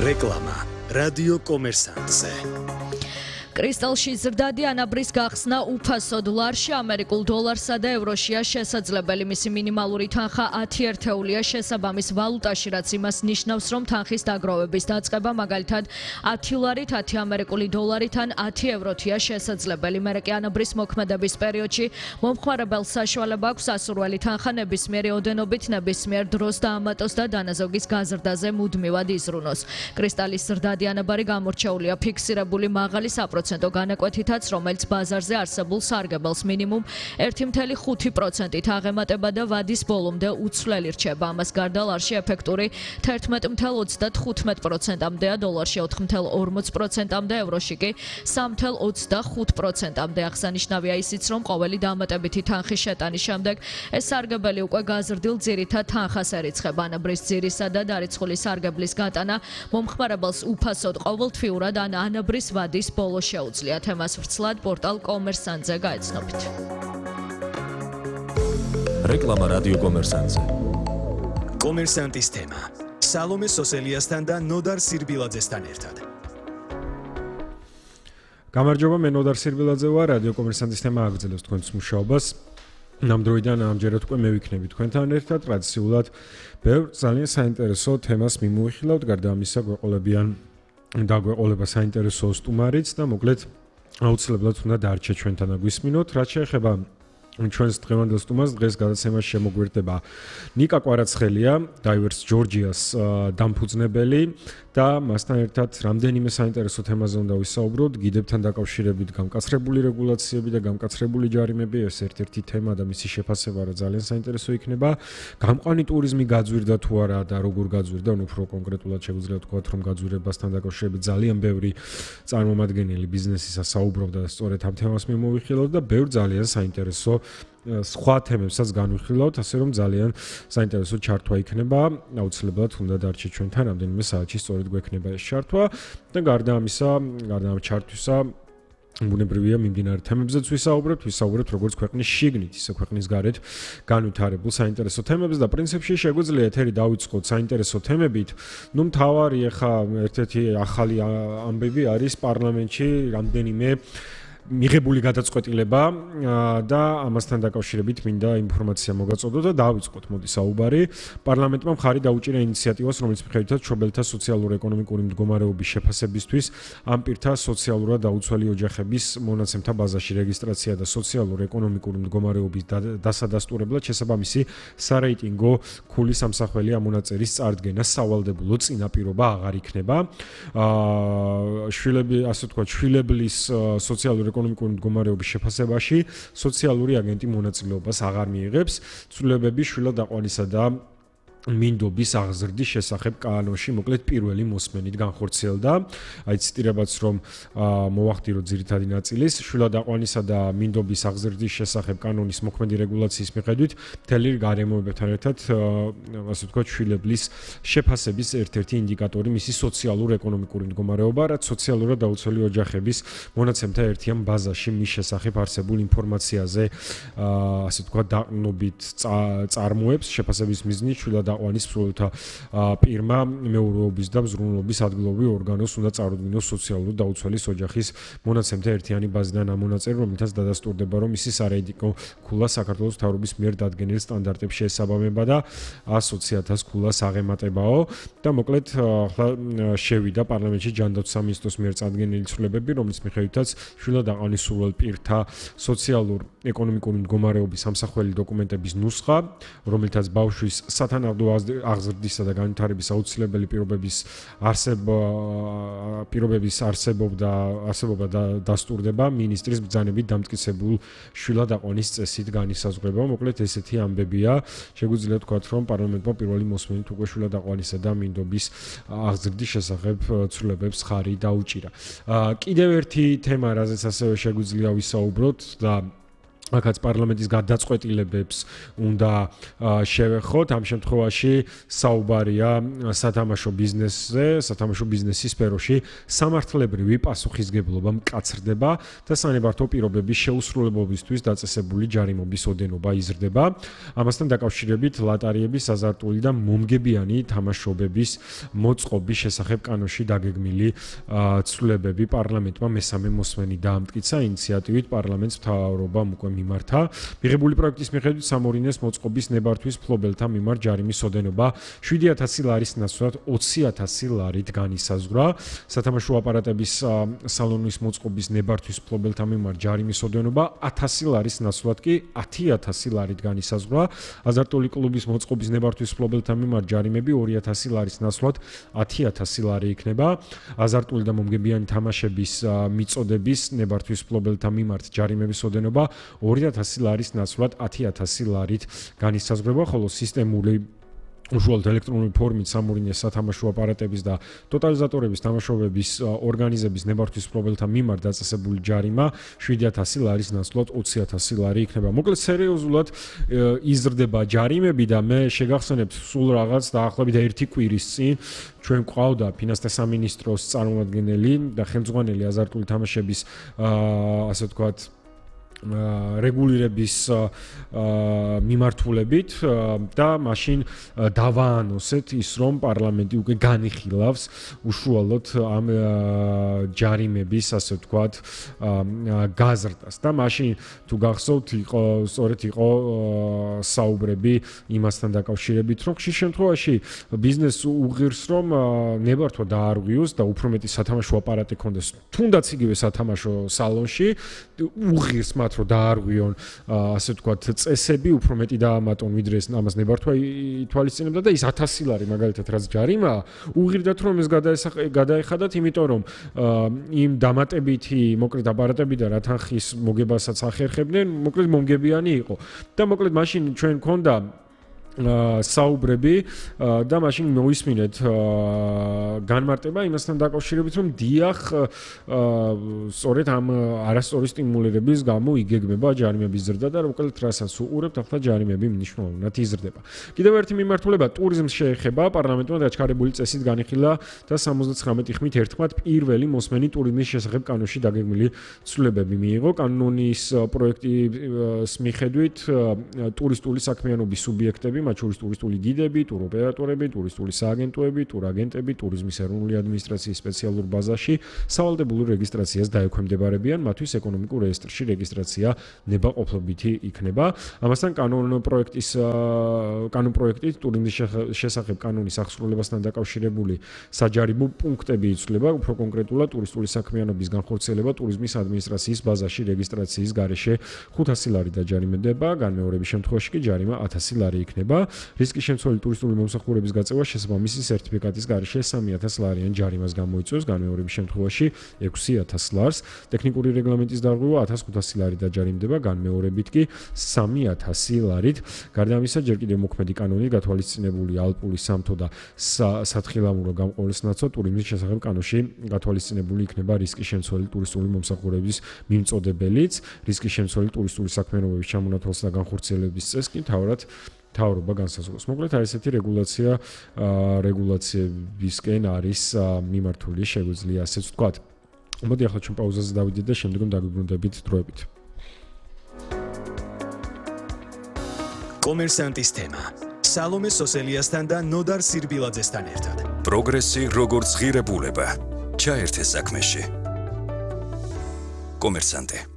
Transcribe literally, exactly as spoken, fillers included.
რეკლამა რადიო კომერსანტზე. კრისტალში ზრდადი ანაბრის გახსნა უფასო დოლარში, ამერიკულ დოლარსა და ევროშია შესაძლებელი. მისი მინიმალური თანხა ათი ერთეულია შესაბამის ვალუტაში, რაც იმას ნიშნავს, რომ თანხის დაგროვების დაწყება მაგალითად ათი ლარით, ათი ამერიკული დოლარით ან ათი ევროთია შესაძლებელი. მერე კი ანაბრის მოქმედების პერიოდში მომხმარებელს საშუალება აქვს ასურველი თანხა ნებისმიერი ოდენობით ნებისმიერ დროს დაამატოს და დანაზოგის გაზრდაზე მუდმივად იზრუნოს. კრისტალის ზრდადი ანაბარი გამორჩეულია ფიქსირებული მაღალი საპროცენტო განაკვეთითაც, რომელიც ბაზარზე არსებულ სარგებელს მინიმუმ ერთი წუთი ხუთი პროცენტით აღემატება და ვადის ბოლომდე უცვლელი რჩება. ამას გარდა ლარში ეფექტური თერთმეტი წუთი ოცდათხუთმეტი პროცენტამდეა, დოლარში ოთხი წუთი ორმოცი პროცენტამდე, ევროში კი სამი წუთი ოცდახუთი პროცენტამდე. აღსანიშნავია ისიც, რომ ყოველი დამატებითი თანხის შეტანის შემდეგ ეს სარგებელი უკვე გაზრდილ ძირითად თანხას ერიცხება. ანაბრის ძირისა და დარიცხული სარგებლის გატანა მომხმარებელს უფასოდ ყოველთვიურად ან ანაბრის ვადის ბოლოს შეუძლია. თემას ვრცლად პორტალ კომერსანტზე გაეცნობით. რეკლამა რადიო კომერსანტზე. კომერსანტის თემა. სალომე სოსელიასთან და ნოდარ სირბილაძესთან ერთად. გამარჯობა, მე ნოდარ სირბილაძე ვარ, რადიო კომერსანტის თემა აგრძელებს თქვენს მუშაობას. ნამდვილად ამჯერად უკვე მე ვიქნები თქვენთან ერთად, ტრადიციულად ბევრ ძალიან საინტერესო თემას მიმოვიხილავთ, გარდა ამისა გვეყოლებიან დაგვეყოლება საინტერესო სტუმარიც და მოკლედ აუცილებლად უნდა დარჩეთ ჩვენთან და გვისმინოთ. რაც შეეხება ჩვენს დღევანდელ სტუმარს, დღეს გადაცემაში შემოგვერდება ნიკა კვარაცხელია, Diverse Georgia's დამფუძნებელი და მასთან ერთად რამდენიმე საინტერესო თემაზე უნდა ვისაუბროთ. გიდებთან დაკავშირებით გამკაცრებული რეგულაციები და გამკაცრებული ჯარიმები, ეს ერთ-ერთი თემა და მისი შეფასება რა ძალიან საინტერესო იქნება. გამყვანი ტურიზმი გაძვირდა თუ არა და როგორ გაძვირდა, ანუ უფრო კონკრეტულად შეგვიძლია ვთქვათ, რომ გაძვირებასთან დაკავშირებით ძალიან ბევრი წარმომადგენელი ბიზნესისა საუბრობდა და სწორედ ამ თემას მიმოვიხილავთ და ბევრ ძალიან საინტერესო სხვა თემებსაც განვიხილავთ, ასე რომ ძალიან საინტერესო ჩართვა იქნება. აუცილებლად უნდა დარჩეთ ჩვენთან რამდენიმე საათში, სწორედ გვექნება ეს ჩართვა და გარდა ამისა, გარდა ამ ჩართვისა ბუნებრივია მიმდინარე თემებზეც ვისაუბრებთ, ვისაუბრებთ როგორც ქვეყნის შიგნით, ისე ქვეყნის გარეთ განვითარებულ საინტერესო თემებზე და პრინციპში შეგვიძლია ეთერი დავიწყოთ საინტერესო თემებით. ნუ მთავარი ახლა ერთ-ერთი ახალი ამბები არის პარლამენტში რამდენიმე მიღებული გადაწყვეტილება და ამასთან დაკავშირებით მინდა ინფორმაცია მოგაწოდოთ და დავიწყოთ მოდი საუბარი. პარლამენტმა მხარი დაუჭირა ინიციატივას, რომელიც მიხედვითაც მშობელთა სოციალურ-ეკონომიკური მდგომარეობის შეფასებისთვის ამ პირთა სოციალურად დაუცველი ოჯახების მონაცემთა ბაზაში რეგისტრაცია და სოციალურ-ეკონომიკური მდგომარეობის დასადასტურებლად შესაბამისი სარეიტინგო ქულის ამსახველი ამონაწერის წარდგენა სავალდებულო წინაპირობა აღარ იქნება. შვილები, ასე ვთქვათ, შვილებლის სოციალურ ეკონომიკური მდგომარეობის შეფასებაში სოციალური აგენტი მონაწილეობას აღარ მიიღებს. ცვლილებები შვილად აყვანისა და მინდობის აღზრდის შესახებ კანონში მოკლედ პირველი მოსმენით განხორციელდა. აი ციტირებაც რომ მოვახდინოთ ძირითადი ნაწილის, შვილად აყვანისა და მინდობის აღზრდის შესახებ კანონის მოქმედი რეგულაციის მიხედვით მთელი გარემოებებთან ერთად, ასე ვთქვათ, შვილების შეფასების ერთ-ერთი ინდიკატორი მისი სოციალურ-ეკონომიკური მდგომარეობა, რაც სოციალურად დაუცველი ოჯახების მონაცემთა ერთიან ბაზაში მის შესახებ არსებულ ინფორმაციაზე, ასე ვთქვათ, დაყრდნობით წარმოებს შეფასების მიზნით შვილად აყვანის მსვლელთა პირმა მეურვეობის და მზრუნველობის ადგილობრივ ორგანოს უნდა წარუდგინოს სოციალურად დაუცველის ოჯახის მონაცემთა ერთიანი ბაზიდან ამონაწერი, რომელთაც დადასტურდება, რომ მისი სარეიტინგო ქულა საქართველოს მთავრობის მიერ დადგენილ სტანდარტებს შეესაბამება და ას ოცი ათას ქულას აღემატებაო და მოკლედ ახლა შევიდა პარლამენტში ჯანდაცვის სამინისტროს მიერ წარდგენილი ცვლილებები, რომლის მიხედვითაც შვილად აყვანის სურვილ პირთა სოციალურ-ეკონომიკური მდგომარეობის ამსახველი დოკუმენტების ნუსხა, რომელთაც ბავშვის სათანადო აღზრდისა და განვითარების აუცილებელი პირობების არსება პირობების არსებობდა არსებობა და დასტურდება მინისტრის ბრძანებით დამტკიცებულ შვილად აყვანის წესით განისაზღვრება. მოკლედ ესეთი ამბებია. შეგვიძლია ვთქვათ, რომ პარლამენტმა პირველი მოსმენით უკვე შვილად აყვანისა და მინდობის აღზრდის შესახებ ცვლილებებს ხარი დაუჭირა. კიდევ ერთი თემა, რაზეც ასევე შეგვიძლია ვისაუბროთ და აქაც პარლამენტის გადაწყვეტილებებს უნდა შევეხოთ. ამ შემთხვევაში საუბარია სათამაშო ბიზნესზე, სათამაშო ბიზნესის სფეროში სამართლებრივი პასუხისგებლობა მკაცრდება და სანებართო პირობების შეუსრულებლობისთვის დაწესებული ჯარიმობის ოდენობა იზრდება. ამასთან დაკავშირებით ლატარიების, აზარტული და მომგებიანი თამაშობების მოწყობის შესახებ კანონში დაგეგმილი ცვლილებები პარლამენტმა მესამე მოსმენი დაამტკიცა. ინიციატივით პარლამენტს მთავრობამ უკვე მიმართა. მიღებული პროექტის მიხედვით სამორინეს მოწყობის ნებართვის მფლობელთა მიმართ ჯარიმის ოდენობა შვიდი ათასი ლარის ნაცვლად ოცი ათასი ლარით განისაზღვრა. სათამაშო აპარატების სალონის მოწყობის ნებართვის მფლობელთა მიმართ ჯარიმის ოდენობა ათასი ლარის ნაცვლად კი ათი ათასი ლარით განისაზღვრა. აზარტული კლუბის მოწყობის ნებართვის მფლობელთა მიმართ ჯარიმები ორი ათასი ლარის ნაცვლად ათი ათასი ლარი იქნება. აზარტული და მომგებიანი თამაშების მიწოდების ნებართვის მფლობელთა მიმართ ჯარიმების ოდენობა ორი ათასი ლარის ნაცვლად ათი ათასი ლარით განისაზღვრება, ხოლო სისტემური უშუალოდ ელექტრონული ფორმით სამორინეს სათამაშო აპარატების და ტოტალიზატორების თამაშობების ორგანიზების ნებართვის მფლობელთა მიმართ დაწესებული ჯარიმა შვიდი ათასი ლარის ნაცვლად ოცი ათასი ლარი იქნება. მოკლედ სერიოზულად იზრდება ჯარიმები და მე შეგახსენებთ სულ რაღაც დაახლოებით ერთი კვირის წინ ჩვენ გვყავდა ფინანსთა სამინისტროს წარმომადგენელი და ხელმძღვანელი აზარტული თამაშების ასე ვთქვათ რეგულირების მიმართულებით და მაშინ დავაანონსეთ ის რომ პარლამენტი უკვე განიხილავს უშუალოდ ამ ჯარიმების ასე ვთქვათ გაზრდას და მაშინ თუ გახსოვთ იყო სწორედ იყო საუბრები იმასთან დაკავშირებით რომ ხშირ შემთხვევაში ბიზნესს უღირს რომ ნებართვა დაარღვიოს და უფრო მეტი სათამაშო აპარატი ქონდეს თუნდაც იგივე სათამაშო სალონში უღირს მათ რომ დაარღვიონ ასე ვთქვათ წესები უფრო მეტი დაამატონ ვიდრე ეს ამას ნებართვა ითვალისწინებდა და ის ათასი ლარი მაგალითად რაც ჯარიმაა უღირდათ რომ ეს გადაეხადათ იმიტომ რომ იმ დამატებითი მოკლედ აპარატები და რა თანხის მოგებასაც ახერხებდნენ მოკლედ მომგებიანი იყო და მოკლედ მაშინ ჩვენ გქონდა საუბრები და მაშინ მოისმინეთ განმარტება იმასთან დაკავშირებით რომ დიახ სწორედ ამ არასწორი სტიმულირების გამო იგეგმება ჯარიმების ზრდა და მოკლედ რასაც უყურებთ ახლა ჯარიმები მნიშვნელოვნად იზრდება. კიდევ ერთი მიმართულება ტურიზმს შეეხება პარლამენტმა დაჩქარებული წესით განიხილა და სამოცდაცხრამეტი ხმით ერთხმად პირველი მოსმენი ტურიზმის შესახებ კანონში დაგეგმილი ცვლილებები მიიღო. კანონის პროექტის მიხედვით ტურისტული საქმიანობის სუბიექტები მათ შორის ტურისტული გიდები, ტუროპერატორები, ტურისტული სააგენტოები, ტურაგენტები, ტურიზმის ეროვნული ადმინისტრაციის სპეციალურ ბაზაში სავალდებულო რეგისტრაციას დაექვემდებარებიან, მათთვის ეკონომიკურ რეესტრში რეგისტრაცია ნებაყოფლობითი იქნება. ამასთან კანონ პროექტის კანონ პროექტით ტურიზმის შესახებ კანონის აღსრულებასთან დაკავშირებული საჯარიმო პუნქტები იცვლება, უფრო კონკრეტულად ტურისტული საქმიანობის განხორციელება ტურიზმის ადმინისტრაციის ბაზაში რეგისტრაციის გარეშე ხუთასი ლარი დაჯარიმდება, განმეორების შემთხვევაში კი ჯარიმა ათასი ლარი იქნება. რისკის შემცველი ტურისტული მომსახურების გაწევა შესაბამისი სერტიფიკატის გარეშე სამი ათას ლარიან ჯარიმას გამოიწვევს, განმეორების შემთხვევაში ექვსი ათას ლარს. ტექნიკური რეგლამენტის დარღვევა ათას ხუთასი ლარი დაჯარიმდება, განმეორებით კი სამი ათასი ლარით. გარდა ამისა, ჯერ კიდევ მოქმედი კანონით გათვალისწინებული ალპური სამთო და სათხილამურო გამყოლის ნაცვლად ტურიზმის შესახებ კანონში გათვალისწინებული იქნება რისკის შემცველი ტურისტული მომსახურების მიმწოდებელიც, რისკის შემცველი ტურისტული საქმიანობების ჩამონათვალს და განხორციელების წესს კი მთავრად თავრობა განსაზღვროს. მოკლედ არის ესეთი რეგულაცია რეგულაციებისკენ არის მიმართული, შეგვიძლია ასეც ვთქვათ. მოდი ახლა ჩვენ პაუზაზე დავიდეთ და შემდგომ დაგვიბრუნდებით დროებით. კომერსანტის თემა. სალომე სოსელიასთან და ნოდარ სირბილაძესთან ერთად. პროგრესი როგორც ღირებულება. ჩაერთე საქმეში. კომერსანტე